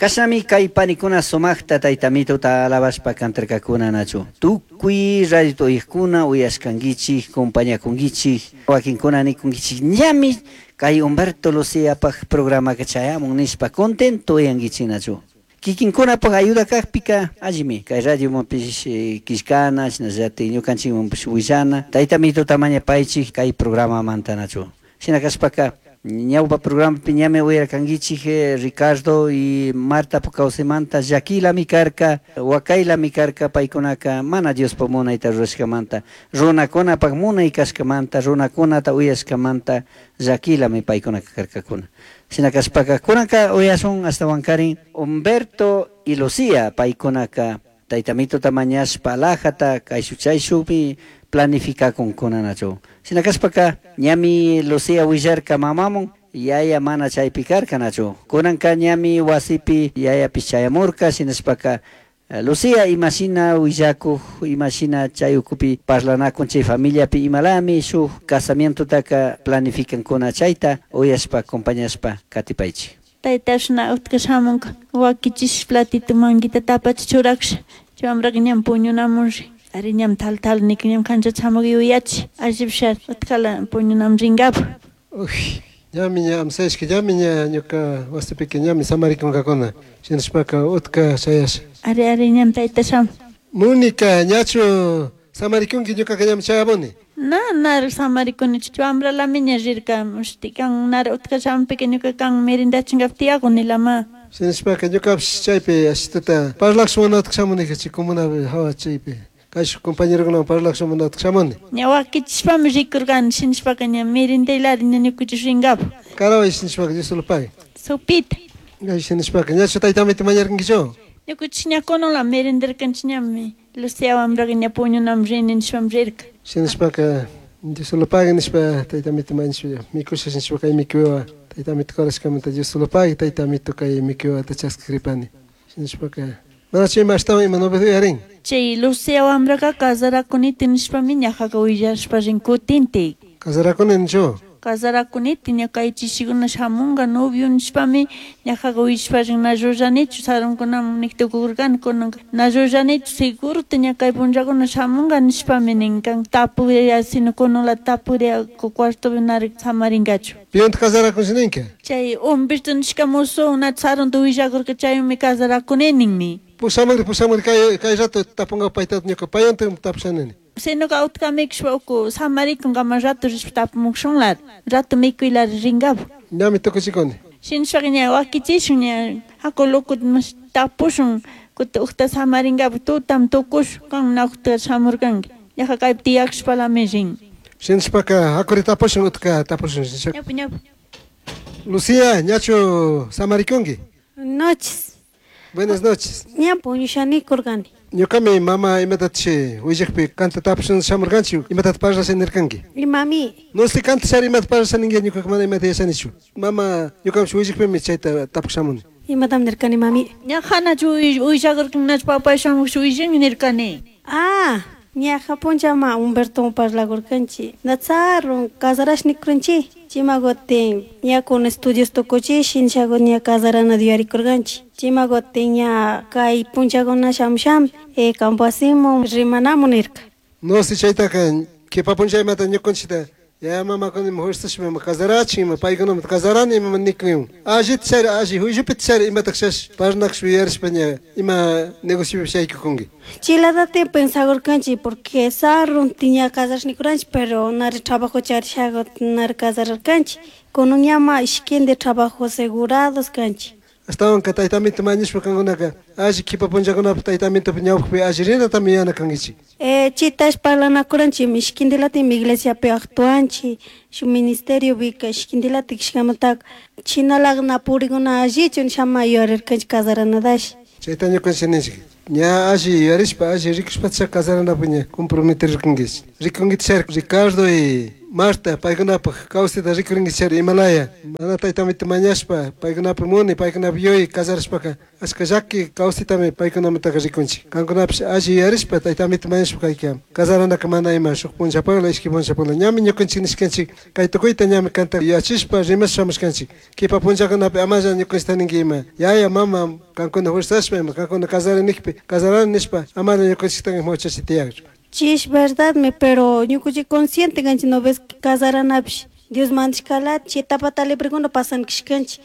Kashnami kay panikuna sumaqta tayta mituta alabashpa cantarkakuna nachu. Tukuy radio uyaqkuna uyashkankichik, compañakunkichik, wakinkuna nikunkichik ñami kay Humberto Luciapaj programaka chayamun nishpa contento uyankichik nachu. Kikinkunapaj ayuda kakpika allimi kay radiomanpish killkana shinallatik ñukanchikmanpish willana tayta mituta mañapaychik kay programamanta nachu. Shina kashpaka ñawpa programapi ñami uyarkankichik Ricardo y Marta kawsaymanta llakilami karka wakaylami karka paykunaka mana Diospaj munayta rurashkamanta runakunapak munay kashkamanta runakunata uyashkamanta llakilami paykunaka karkakuna. Shina kashpaka kunanka uyashun ashtawankarin Humberto y Lucía paykunaka tayta mituta mañashpa alhajata kayshu chayshukmi planificakunkuna nachu. Shina kashpaka ñami Lucía willarka mamamun yaya mana chaypi karka nachu. Kunanka ñami wasipi yayapish chayamurka shinashpaka Lucía imashina willakuq imashina chay ukupi parlanakun chay familiapi imalami shuk casamientotaka planificankuna chayta uyashpa acompañashpa katipaychik. Tayta shina utka shamunka wakichish platito manguita tapachi churaksha chay wambraka ñam puñunamunri ari ñam tal tal nik ñam kanchata shamuk yuyachi allipishari utkala puñunamun rinkapak. Uy, ñami ña amsayashka ñami ña ñuka wasipika ñami samarikunkakuna shinashpaka utka chayasha. Ari ari ñam tayta shamun. Mónica, ñachu samarikunki ñukaka ñami chayamuni. Na nara samarikunichu chay wambralami ña rirka mushti kan nara utka shamunpika ñuka kan merendachinkapak tiyakunilama. Shinashpaka ñukapish chaypi ashitata parlaksh munatak shamunika chay comunapi hawa chaypi kayshuk compañerokunawan parlaksh munatak shamuni. Ña wakichishpami rikurkani shinashpaka ña merendaylari ña ñukuchish rinkapak. Karaway shinashpaka Dios solo pague. Sopita. Ay shinashpaka ñachu tayta amito mañarkankichu. Ñukuchish ña kunanla merendarkanchik ñami Lucía wambraka ña puñunamun rini nishpami rirka. Shinashpaka Dios solo pague nishpa tayta amito mañashpa mikusha shinashpa kay mikuywa tayta amito karashkamanta Dios solo pague tayta amito kay mikuywata chaskikripani. Shinashpaka manachu ima ashtawan ima novedad uyarin. Chay Lucía wambraka casarakuniti nishpami ñajaka willashpa rin kutintik. Casarakuni nichu. Casarakuniti ña kay chishikuna shamunka novio nishpami ñajaka willashpa rin na llullanichu sarunkunaman niktukurkani kunanka na llullanichu seguro ña kay punllakuna shamunka nishpami nin kan tapuria sino kunanla tapuria cuartopi nara samarinkachu. Piwantaq casarakunshi ninka. Chay Humberto nishka musu na sarunta willakurka chaymi casarakuni ninmi. Pushamugri pushamugri kay kay rato tapunka payta ñuka payanta tapushanini. Sinoka utka mikushpa uku samarikun kaman rato rishpa tapumushunlari rato mikuylari rinkapak. Ñami tukuchikuni. Shinashpaka ña wakichishun ña haku loco tapushun kutin ukta samarinkapak tutami tukushun kan na ukta shamurkanki ñaja kaypi tiyakshpalami rin. Shinashpaka hakuri tapushun utka tapushun. Ñawpa ñawpa. Lucía, ñachu samarikunki. Noches. Buenas noches. Ña puñushanikurkani. Ñukami mama imatatashi willakpi kanta tapushun shamurkanchik imatata parlasha nirkanki. Imami. No sé kanta shari imata parlasha ninki ñukaka mana imata yachanichu. Mama ñukapish willakpimi chayta tapuk shamuni. Imatam nirkani mami. Ñaja nachu willakurkan nachu papay shamush willanmi nirkani. Ah, ñaja punllama Humberto parlakurkanchik. Natsarun casarash nikuranchik. Chimagotin ña con estudios tukuchish shinchago ña casarana yuyarikurkanchik. Chimagotin ña kay punllakuna shamushami kampo wasimun rimanamun nirka. No sé chaytaka kipa punlla imata ñukanchikta yaya mamakuna ima fuerzashpa ima casarachin ima paykunamanta casarani ima nikun. Allita chari alli juillupita chari imatak shash parlakshpa yuyarishpa ña ima negociopi shaykukunki. Chiladati pensagurkanchik porque sarun ña casarash nikuranchik pero nari trabajo charishago nari casararkanchik. Kunan ñama ishkindi trabajo asegurados kanchik. Ashtawanka tayta amito mañashpa kankunaka alli kipa punllakunapi tayta amitopi ñawpakpi alli rinatami yana kankichik. Chitash parlanakuranchik ishkindilatimi iglesiapi actuanchik shuk ministerio pika ishkindilatik kashkamantaka chinalak na purikuna allichu nishama yuyarirkanchik casaranadash. Chayta ñukanchik ninchik ña alli yuyarishpa alli rikushpa casaranapak ña comprometerkankichik. Rikunkichik Ricardo y Marta paykunapaq kawsayta rikurinkichari imalaya mana taytamita mañashpa paykunapaq muni paykunapaq yuyay casarashpaka achka llaki kawsaytami paykunamantaka rikunchik. Kankunapish alli yuyarishpa taytamita mañashpa kayka casaranaka mana ima shuk punllapakla ishki punllapakla ñami ñukanchik nishkanchik kay tukuyta ñami kanta yuyachishpa rimashpa shamushkanchik. Kipa punllakunapi amalla ñukanchikta ninki ima yaya mama kankuna fuerzashpa ima kankuna casari nikpi casarani nishpa amalla ñukanchikta huchachi tiyakchu. Chish verdadmi, pero ñukanchik consciente kanchik no ves casaranapish Dios mandashkala chay etapata librekuna pasan kashkanchik.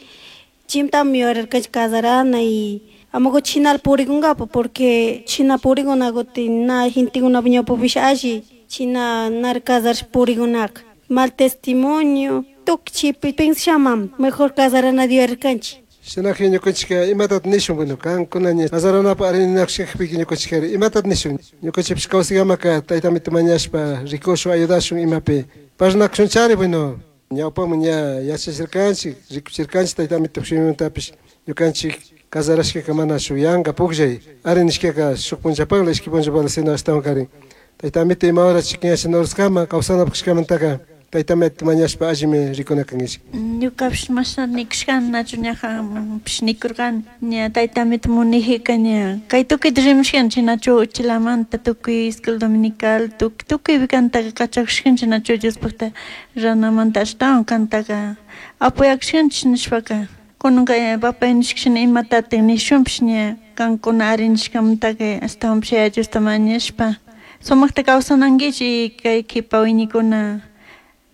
Chimtami yuyarirkanchik casarana y amaku chinala purikunkapa porque china purikuna kutin na gentekunapa ñawpapish alli china nara casarashpa purikunaka. Mal testimonio tukuy chaypi pensashamam mejor casaranata yuyarirkanchik. Shinakpi ñukanchikka imatata nishun bueno kankuna ña casaranapaq arininakushkakpika ñukanchikari imatata nishun ñukanchikpish kawsaykamaka taytamita mañashpa rikushun ayudashun imapi parlanakushunchari bueno ñawpaman ña yachachirkanchik rikuchirkanchik taytamita shimimantapish ñukanchik casarashkaka mana shuk yanka pukllay arinishkaka shuk punllapakla ishki punllapakla sino ashtawankarin taytamita ima hora chikin kama kawsanapaq kashkamantaka taytamita mañashpa allimi rikuna kankichik. Ñukapish mashna nikushkani nachu ñajapish nikurkani ña taytamita munijika ña kay tukuyta rimashkani chinachu uchilamanta tukuy escuela dominical tukuy tukuypi kantaka kachakushkanchik nachu Diospakta ranamanta ashtawan kantaka apoyakushkanchik nishpaka kunanka papay nishkashina imatatik nishunpish ña kankuna ari nishkamantaka ashtawanpish Yaya Diosta mañashpa sumakta kawsanankichik kay kipa wiñaykuna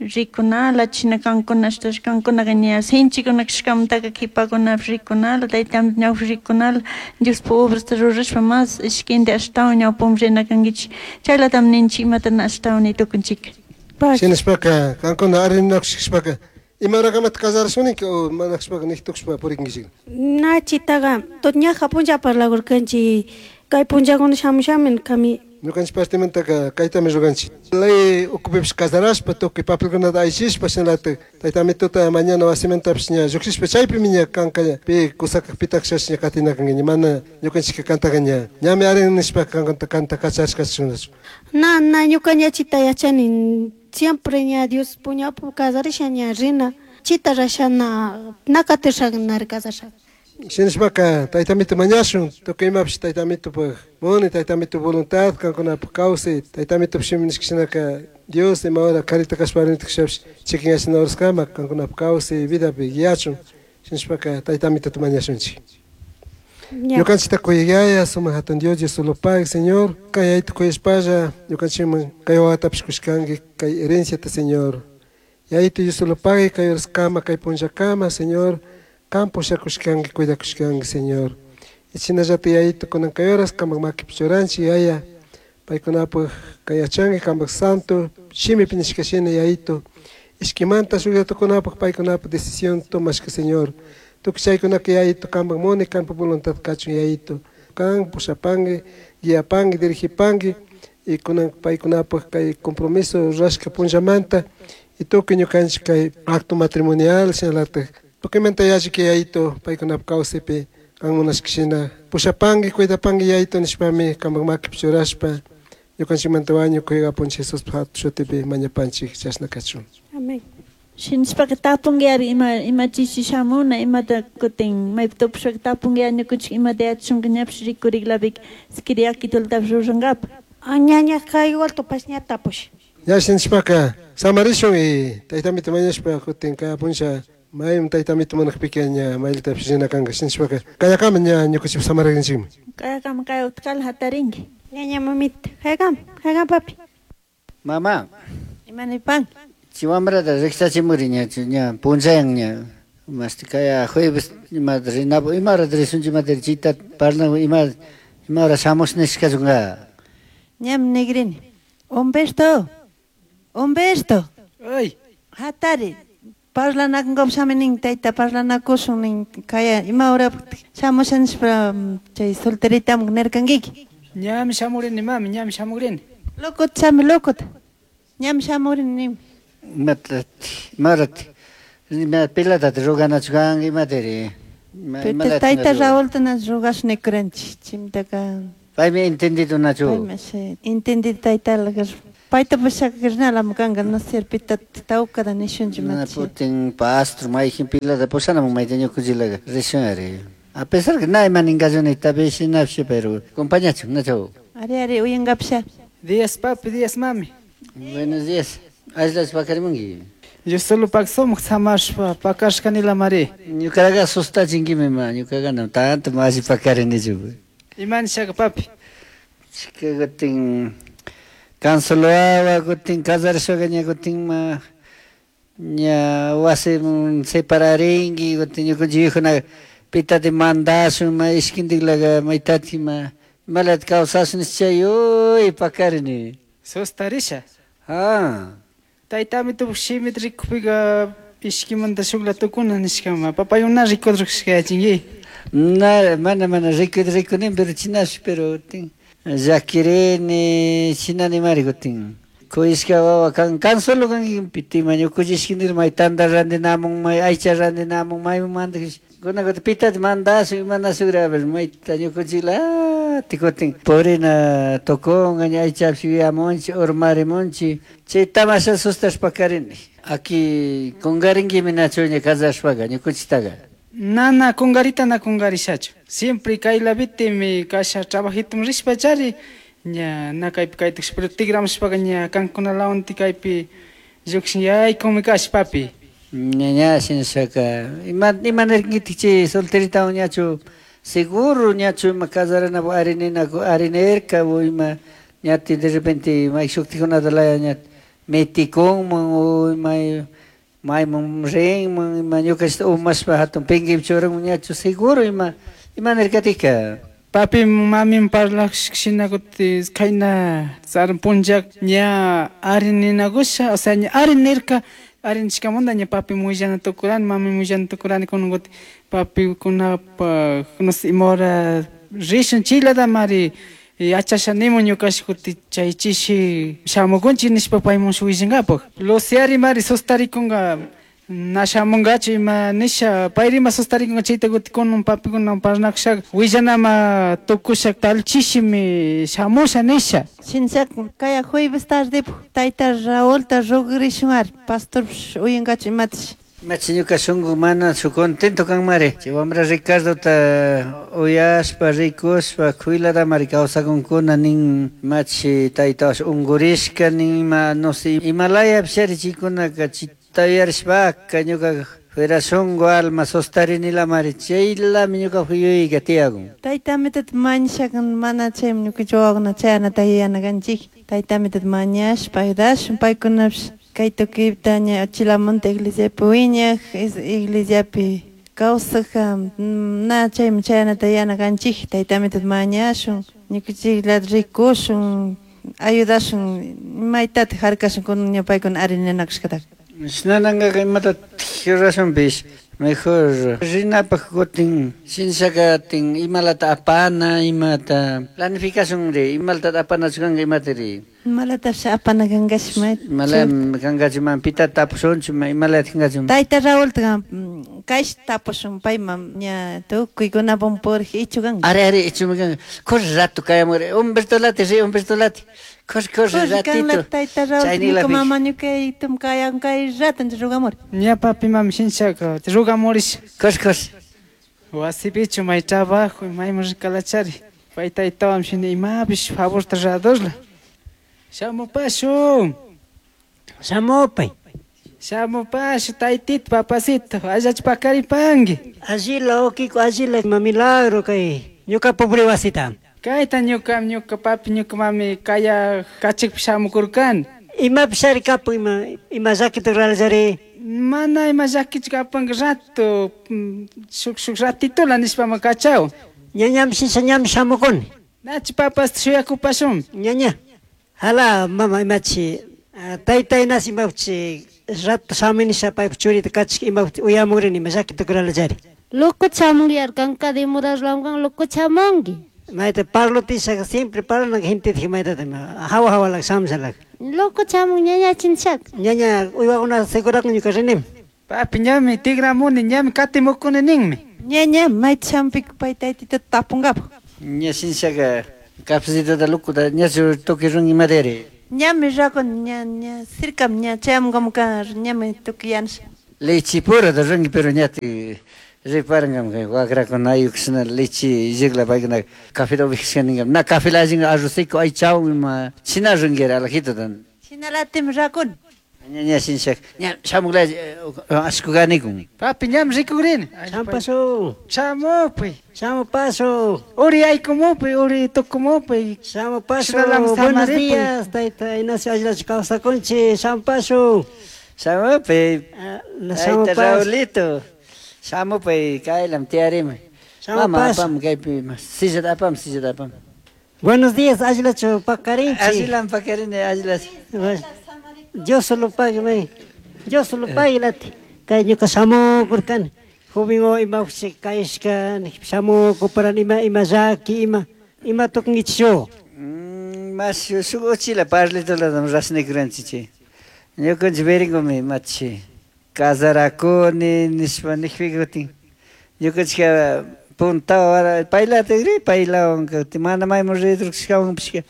rikunala china kankuna ashtash kankunaka ña sinchikuna kashkamantaka kipakunapish rikunala taytamita ñawpa rikunala Diospuk obrasta rurashpa mas ishkinti ashtawan ñawpaman rina kankichik chaylatami ninchik imata na ashtawan nitukunchik. Shinashpaka kankuna arinakushkashpaka ima horakamata casarashuniki o mana kashpaka niktukushpa purikunkichik. Na chitaqa ñaja punlla parlakurkanchik kay punllakuna shamushami nirkami. Ñukanchik partimantaka kaytami ruranchik. Ley ukupipish casarashpa tukuy papelkunata aychishpa shinalatik taytamituta mañana wasimantapish ña llukshishpa chaypimi ña kanka pi kusakak pitakshashpa ña katinakanki ña mana ñukanchikka kantaka ña ñami arin nishpa kankanta kanta kacharishkachishunnachu. Na na ñuka ña chita yachani siempre ña Dios puñapu casarisha ña rina chita rasha na na katisha nari casasha. Shinashpaka taytamita mañashun tukuy imapish taytamitupak muni taytamito voluntad kankunapaq kawsay taytamitup shimi nishkashinaka Dios ima hora karita kashpa arinita kashapish chikinyachina horaskama kankunapaq kawsay vidapi guiachun shinashpaka taytamitata mañashunchik. Ñukanchikta kuyayaya sumak hatun Dios Dios solo Padre Señor kay yayta kuyashpalla ñukanchikman kay wawatapish kushkanki kay herenciata Señor yayta Dios solo Padre kay horaskama kay punllakama Señor kan pushakushkanki cuidakushkanki Señor y shinallata yayta kunan kay horas kamak makipi churanchik yaya paykunapaq kay yachanki kampak santo shimipi nishkashina yayito ishkimanta shukllatukunapaq paykunapaq decisión tomashka Señor tukuy chaykunaka yayito kampak muni kampak voluntad kachun yayito kan pushapanki guiapanki dirigipanki y kunan paykunapaq kay compromiso rurashka punllamanta y tukuy ñukanchik kay acto matrimonial shinalatak tukuymanta yalliki yayito paykunapaq kawsaypi kan munashkashina pushapanki cuidapanki yayito nishpami kampak makipi churashpa ñukanchikmanta wañuk Apunchik Jesuspaq hatun shutipi mañapanchik chashna kachun. Amén. Shinashpaka tapunki ima ima chishi shamuna imata kutin maypi tupashpaka tapunki ñukanchik imata yachashunka ñapish rikuriklapika sikira yakitulatapish rurankapak. Ñañaka igual tupash ña tapush. Ña shinashpaka samarishun y taytamita mañashpa kutin kay punlla maymi taytamita munakpika ña maylatapish rina kanka shinashpaka kayakama ña ñukanchik samaririnchikmi. Kayakama kay utkala hatarinki. Ñaña mamita, haykam, haykam papi. Mama. Imanipan. Chiwambrata riqsachimuri ña ña punllayan ña masti kaya jueves ima rinapu ima hora rishunchik imata chita parlan ima ima hora shamush nishkashunka. Ñam nigrini. Humberto. Humberto. Ay. Hatari. Parlanakunkapak shami nin tayta parlanakushun nin kaya ima hora shamusha nishpa chay solteritaman nirkankiki. Ñami shamurini mami ñami shamurini. Lokota shami lokota. Ñami shamurini nin. Imata imarat ima pilatata ruganachu kanki imatari. Tayta Raulta na rugash nikuranchik chimtaka. Paymi entendido nachu. Paymi entendido taytala. Paita pushakrinalami kanka, no sé, pita tawkada nishunchik Na machi. putin pastor mayjin pilata pushanamun mayta ñukunchiklaga rishun ari. A pesar que na ima ninkalluni tapish shinapish pero compañachun nachu. Ari ari uyankapisha. Días papi, días mami. Buenos días. Allillachu pakarimunki. Yo solo pak sumak samashpa pakashkanila mari. Ñukaraga asustachinkimi ma ñukaga no tanto alli pakarinichu. Ima nishaka papi. Chika kutin Consolo kutin casarashpaca ña kutin ma ña wasiman separarinki kutin ñukanchik viejuna pitati mandashun ma ishkintiklaga maytatik ma imalata kawsashun nish chay uy pakarini. Sustarisha. Ah. Taytami tupuk shimita rikukpika ishkimanta shukla tukuna nishkama. Papayuna rikudrukshkayachinki. Na, mana mana rikudi rikunin pero chinash pero kutin llakirini chinanimari kutin. Kuyashka wawa kan kan solo kanki pitima ñukunchik ishkindik may tanta rantinamun may aycha rantinamun maymun mandakish kuna kutin pitati mandashun imanashun a ver mayta ñukunchikla kutin purina tukunga ña aychapish yuyamunchik urmarimunchik chay tamasha sustashpa pakarini. Aki kunkarinkimi nachu ña casarashpaka ñukunchiktaga. Na, na kungarita na kungarishachu. Siempre kaylapitimi kasha trabajito rishpa chari ña na kaypi kaytukush pero tigramushpaka ña kankunalawanti kaypi llukshin yaykumi kash papi. Ña ña shinashaka ima imanirkinkitik chay solteritawan ñachu seguro ñachu ima casaranapak arininaku arinirka o ima ñati de repente may shuktikunata laya ña mitikunman o ima mayman rinman ima ñukashta umashpa hatun pinkaypi churanman ñachu seguro ima imanirkatika. Papi mami parlak shina kuti kayna sarun punlla ña arininakusha, o sea ña arinirka, arinishkamanta ña papi willana tukurani, mami willana tukurani kunan kuti papi kunapak no sé ima hora rishun chaylatamari yachasha nimun ñukash kuti chay chishi shamukunchik nishpa paymun willankapak. Luciari mari sustarikunka na shamunkachu ima nisha payrima sustarikunka chayta kuti kunan papikunawan parlanakushaka willanama tukusha tal chishimi shamusha nisha. Shinashaka kaya jueves tardepuk tayta Raulta rugrishun ari pastorpish uyankachu imatash. Machi ñuka shunku mana su contento kanmari. Chay wambra Ricardota uyashpa rikushpa kuylatamari kawsakunkuna nin machi taytawash unkurishka nin ima no sé imalayapish ari chaykunaka chita yuyarishpaka ñuka fuera shunku alma sostarinilamari chaylami ñuka yuyayka tiyakun. Tayta amitata mañashaka mana chaymi ñukanchik wawakuna chayanata yuyana kanchik. Tayta amitata mañashpa ayudashun paykunapish kay tukuyta ña uchilamanta iglesiapi wiñak, iglesiapi kawsak na chaymi chayanata yuyana kanchik. Tayta amitata mañashun ñukanchiklata rikushun ayudashun maytatik harkashun kunan ña paykuna arininakushkataka. Shinanankaka imatatik rurashunpish mejor rinapak kutin shinashaka tin imalata apana imata planificacionri imalata apanachu kanka imatari. Imalatapish apana kankash may. Imala kankachu ma pita tapushunchu ma imalata kankachu. Tayta Raulta kaysh tapushun payman ña tukuykunapak purik ichu kanka. Ari ari ichumi kanka. Corre rato kayamuri Humberto lati ri Humberto lati. Corre corre Corre kanla ratito. tayta Raul Chaynilapi. ñuka mama ñuka yayitum kayan kay rato rugamuri. Ña papi mami shinashaka rugamurish. Corre corre. Wasipichu may trabajo mayman rikalachari. Pay taytawan shina imapish favorta ruradorla. Shamupashun. Shamupay. Shamupashu taytito papacito allachu pakaripanki. Allila okiko allila ima milagro kay ñuka pobre wasita. Kayta ñuka ñuka papi ñuka mami kaya kachikpi shamukurkani. Imapish ari kapun ima ima llakita ruralallari. Mana ima llakichu kapanka rato shuk shuk ratitola nishpama kachaw. Ña ñami shisha ñami shamukuni. Nachu papasta shuyakupashun. Ña ña. Hala mama imachi tayta Ignacio imapchi rato shaminisha paypa churita kachik imapti uyamurini ima llakita ruralallari. Loco chamungi kanka demorarlangan loco chamungi. Mayta parlotishaka siempre parlan gente mayta hawa hawa shamshalak. Loco chamun ñaña chinchak. Ñaña uywakuna segurakun ñuka rinim. Papi ñami tigramuni ñami katimukuni ninmi. Ñaña mayta shampik pay taytitata tapunkapak. Ña shinashaka cafecitota locuta ñachu tukuy runki imatari. Ñami rakun ña ña cercam ña chayamunkamukan ñami tukuy yanasha. Leche pura rangi pero ñati reparangam wakrakunayuq shina leche llegla paykuna café ubijashka na café la arroz seco aychawan ima shina rangira alajito. Shinalatimi rakun. Ña ña shinshak ña shamukla ashkuganikun. Papi ñam rikugrini. Champasu. Chamupi. Chamupasu. Uri aykumupi, uri tukumupi. Chamupasu. Buenos días, tayta Ignacio Aylachu kawsakunchik. Champasu. Shamupi. Tayta Raulito. Shamupi kaylam tiyarimi. Mama apam kaypi sillata apam, sillata apam. Buenos días, Aylachu pakarinchik. Ashilam pakarini, Ayla. Dios lo pague, may. Dios lo pague, lati. Kay ñuka shamukurkani. Joven o ima uchi kayshka, shamukuparan ima ima llaki, ima ima tukunkichik. Mas shuk uchila parlitulatam rasnikuranchik. Ñukanchik veringumi machi kasarakuni nishpa nikpika kutin ñukanchika puntawan paylatikri paylawan kutin mana mayman ridurkushkawanpishka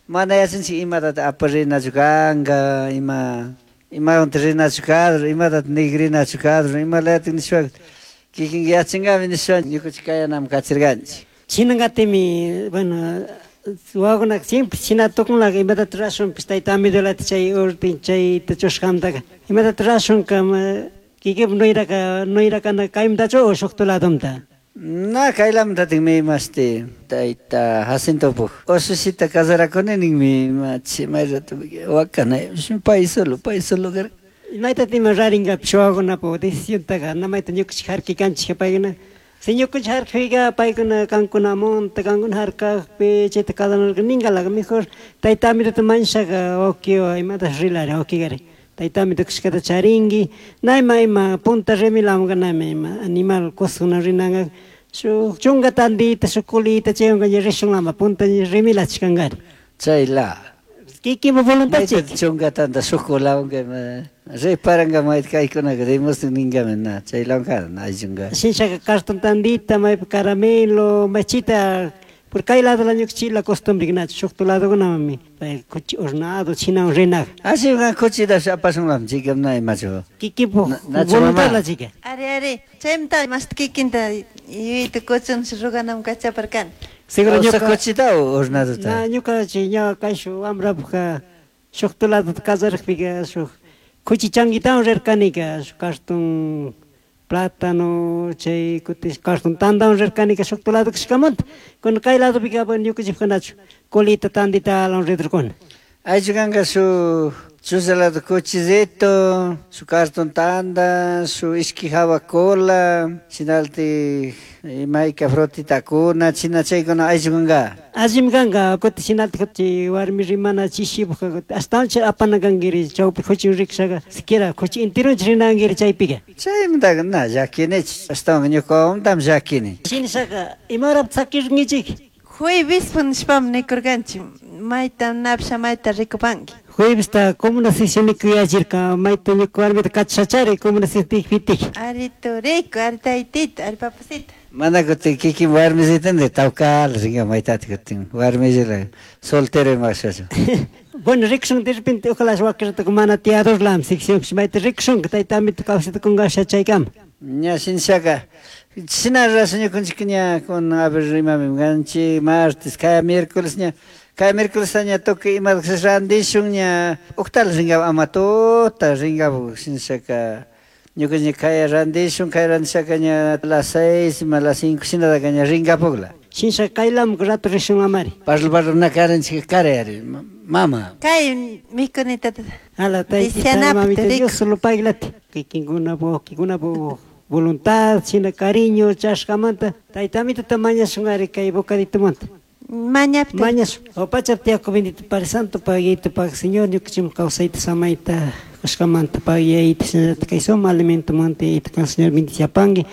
mana yachanchik imatata aparinachu kanka ima imawanta rinachu kadro imatata nikrinachu kadro imalatik nishpa kikinka yachankami nishpa ñukanchik kayanaman kachirkanchik. Chinangatimi, bueno, wawakunaka siempre china tukunlaka imatata rashunpish tayta Amidolata chay orden chayta chushkamtaka imatata rashunka kikinpa nuyraka nuyrakana kaymantachu o shukta ladumta. Na kaylamantatikmi imashti tayta Jacintopuk ushishita kasarakuni ninmi imachi may rato wakana pay solo karka. Maytata ima rarinkapish wawakunapak decisiontaka na mayta ñukanchik harkikanchik paykuna. Si ñukanchik harkakpika paykuna kankunamunta kankuna harkakpi chayta kasanarka ninkalaka mejor tayta Amidota mañashaka wawkiwa imatash rilari wawkikari. Tayta Amito kashkata charinki na ima ima punta remilamunka na ima ima animal cosakuna rinanka shuk chunka tandita shuk kulita chaywanka ña rishunlama punta remilachishkankari. Chayla. Kikinpa voluntad chik. Chunka tanda shuk kulawanka ima reparanka mayta kaykunaka demuestran ninkami na chaylawanka na ayllunka. Shinshaka cartón tandita maypi caramelo machita por kay lado la ñukanchik la costumbre nachu shukta ladokunamami pay kuchi hornado chinawan rinaka. Así kuchitash apashunlami chika na imachu. Kikinpuk voluntad la chika. Ari ari chaymanta mashta kikinta yuyayta kuchun ruganam kachaparkani. Seguro ñuka kuchita o hornadota. Na ñuka chay ña kayshu wambrapukka shukta ladota kasarakpika shuk kuchi changuitawan rirkanika shuk cartón plátano chay kutin cartón tantawan rirkanika shukta lado kashkamanta kuna kay ladopika bueno ñukanchikpika nachu colita tandita lawan ridurkuna. Aychu kanka shuk chuza lado kuchillito, su cartón tanda, su ishki java cola, shinaltik imayka frutitakuna, china chaykuna aychu kanka. Allimi kanka, kutin shinaltik chay warmi rimana chishipukka kutin ashtawan chay apana kankiri chawpi kuchi rikshaka siquiera kuchi enteronchik rinankiri chaypika. Chaymantaka na llakinichik, ashtawan ñukawantam llakini. Shinashaka imarapi sakirninchik. Jueves nishpami nikurkanchik mayta napish mayta rikupanki. Juevesta comuna sesión kuyachirka mayta ñuka warmita kachashachari comuna sesión fitik. Ari turiku, ari taytito, ari papacito. Mana kutin kikin warmisitandi tawkala rinka maytata kutin warmisila soltero imashachu. Bueno, rikushun de repente ojalá wakirata mana tiyadorlam sección mayta rikushunka tayta Amito kawsayta kungasha chaykama. Ña shinshaka shina rashun ñukanchik ña kun a ver imami kanchik martes kaya miércoles ña kaya miércoles ña tukuy imata randishun ña uktala rinkapu ama tuta rinkapu shinshaka ñukanchik kaya randishun kaya randishaka ña las 6 ima las 5 shinataka ña rinkapukla. Shinshaka kaylamuka rato rishunlamari. Parlo parlo na karanchik karayari mama. Kay mikunitata. Ala taytita mamita Dios solo paglati. Kikinkunapu wawkikunapu voluntad, shina cariño, chashkamanta. Tayta Amitota mañashunari kay bocaditomanta. Mañapti. Mañashun. O pachapti yaku bendito Padre Santo, paguito, pag Señor, ñukanchikman kawsayta samayta kushkamanta paguiyayta shinallata kay suma alimentomanta yayta kan Señor bendiciapanki.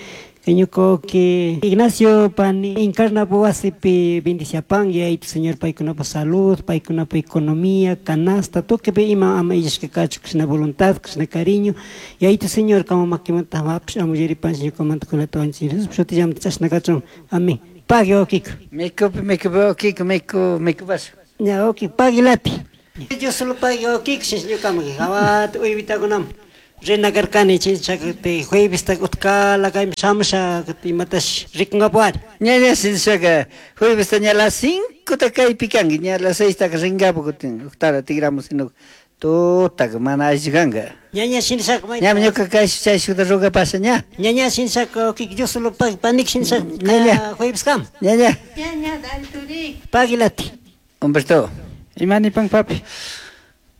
Kay ñuka wawki Ignacio pani Encarnapu wasipi bendiciapanki yayta Señor paykunapa salud, paykunapa economía, canasta, tukuy ima ama illashka kachun kashna voluntad, kashna cariño. Yayta Señor kama makimanta amapish amuyaripanchik ñukamanta kunata wanchik Jesús shutillamanta chashna kachun. Amén. Pagui wawkiko. Mikupi mikupi wawkiko miku mikupash. Ña wawki pagui lati. Dios solo pagui wawkik ñukaman hawata uywitakunam rina karkani chinchaka juevesta utkala kayman shamusha imatash rikunkapuari. Ñaña shinshaka juevesta ña las 5 ta kaypi kanki, ña las 6 taka rinkapu kutin uktara tigramus sino tutaka mana alli kanka. Ñaña shinshaka mayta. Ñami ñuka kaysh chayshuta rugapasha ña. Ñaña shinshaka wawkik Dios solo pagui panik shinshaka Ñaña. jueves kam. Ñaña. Ñaña, dale turi. Pagui lati. Humberto. Imani pan papi.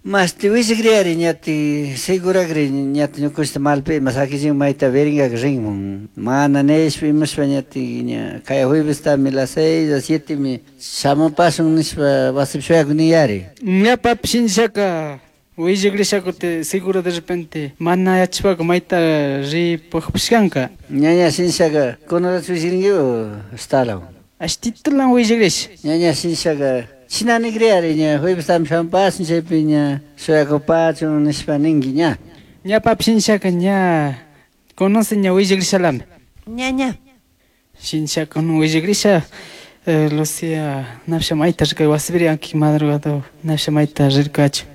Masti wisikriari ñati seguragri ñati ñukushta malpi ima sakichin mayta veringak rinmun. Mana nishpa imashpa ñati ña kaya juevestami las 6 a 7 mi shamupasun nishpa wasipi shuyakuni yari. Ña papi shinshaka willakrisha seguro de repente mana yachpaka mayta ripukpishkanka. Ñaña shinshaka kunarachu wishirinki o stalaw. Ashtitulan willakrish. Ñaña shinshaka chinani kriari ña juevestami shamupasun chaypi ña shuyakupachun nishpa ninki ña. Ña papi shinshaka ña conoce ña willakrishalami. Ñaña. Shinshaka no willakrisha Lucía nafsha mayta rirka wasipiri anki madrugada nafsha mayta rirkachu.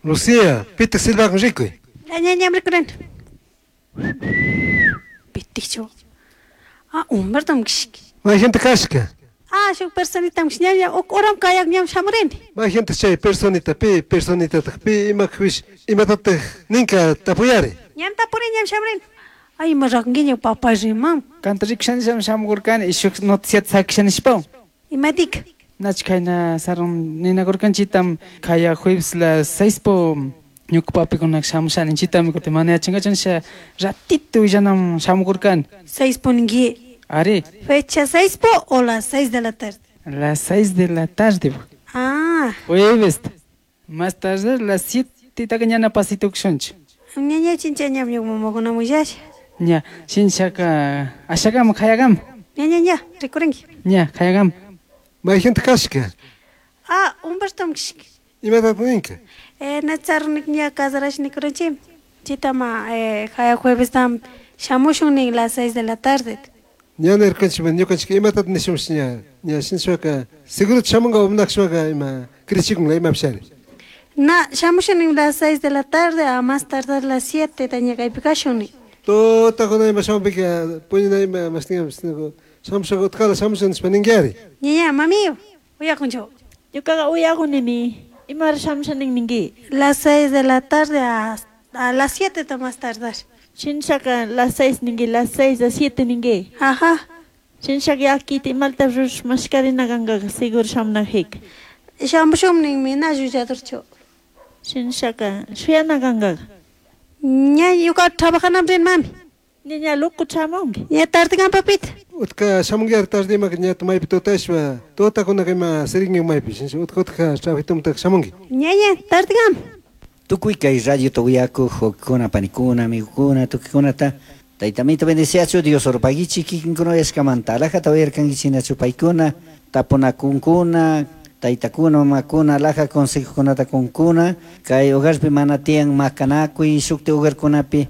Lucía, pitak silbakun rikuy. Ñaña rikurin. Pitikchu. Ah, Humberto mkishki. Mayjanta kashka. Ah, shuk personita mkish ñaña uk uram kayak ñam shamurini. Mayjanta chay personita pi personitataq pi imakpish imatataq ninka tapuyari. Ñam tapuri ñam shamurini. Ay, ima rakunkiña papá rimam. Kanta rikushanisham shamurkani y shuk noticiata sakishanishpa. Imatik. Nach kayna sarun ninakurkanchitam kaya jueves las 6 po ñuka papikunak shamushani chitami kutin mana yachankachu ratito willanam shamurkani. 6 po ninki. Ari. Fecha 6 po o las 6 de la tarde. Las 6 de la tarde. Ah. Jueves. Más tarde las 7 taka ñana pasito kushunchi. Ñaña chincha ñam ñuka mamakuna willasha. Ña, shinshaka ashakam kayakam. Ñaña ña, rikurinki. Ña, kayakam. Mayjanta kashka. Ah, Humberto mkishki. Imatataq ninka. Natsarnik ña casarash nikurinchim. Chitama kaya jueves tam shamushun nin las 6 de la tarde. Ña nirkanchik ñukanchik imatataq nishunchik ña ña shinshaka seguro shamunka umnakshwaka ima krichikunla imapishari. Na, shamushun nin las 6 de la tarde a más tardar las 7 ta ña kaypi kashun nin. Tutakuna ima shamunpika puñuna ima mashtingapish shamushaka utkala shamushun nishpa ninkiari. Ñaña, mami, uyakunchu. Ñukaqa uyakunimi. Imara shamusha nin ninki. Las 6 de la tarde a las 7 ta más tardar. Shinshaka las 6 ninki, las 6 a 7 ninki. Ajá. Shinshaka yakita imalta rush mashkarina kanka seguro shamunajik. Shamushun ninmi na llulladurchu. Shinshaka shuyana kanka. Ña ñuka trabajanam rin mami. Ñaña loco chamunki. Ña tarde kan papita. Utka shamunkiari tarde imaka ñata maypi tutashpa tutakunaka ima sirinki maypi shinsha utka utka trabajitumtaka shamunki. Ñaña tarde kan. Tukuy kay radio tuyaku wawkikuna panikuna amigokuna tukuykunata Taytamito bendeciachu Dios orpaguichi kikinkuna uyashkamanta alajata uyarkankichinachu paykuna tapunakunkuna taytakuna mamakuna alaja consejokunata kunkuna kay hogarpi mana tiyan makanakuy shukti hogarkunapi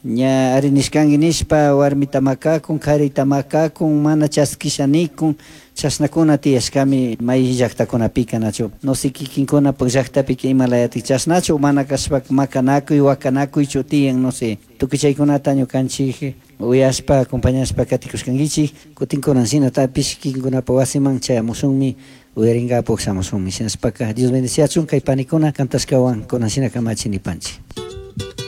ña arinishkanki nishpa warmita makakun karita makakun mana chaskisha nikun chashnakuna tiyashkami may llaktakunapika nachu no sé kikinkunapak llaktapika imalayatik chashnachu mana kashpa makanakuy wakanakuychu tiyan no sé tukuy chaykunata ñukanchik uyashpa acompañashpa katikushkankichik kutin kunan shinatapish kikinkunapa wasiman chayamushunmi uyarinkapak shamushunmi shinashpaka Dios bendeciachun kay panikuna kantashkawan kunan shina kamachi nipanchik.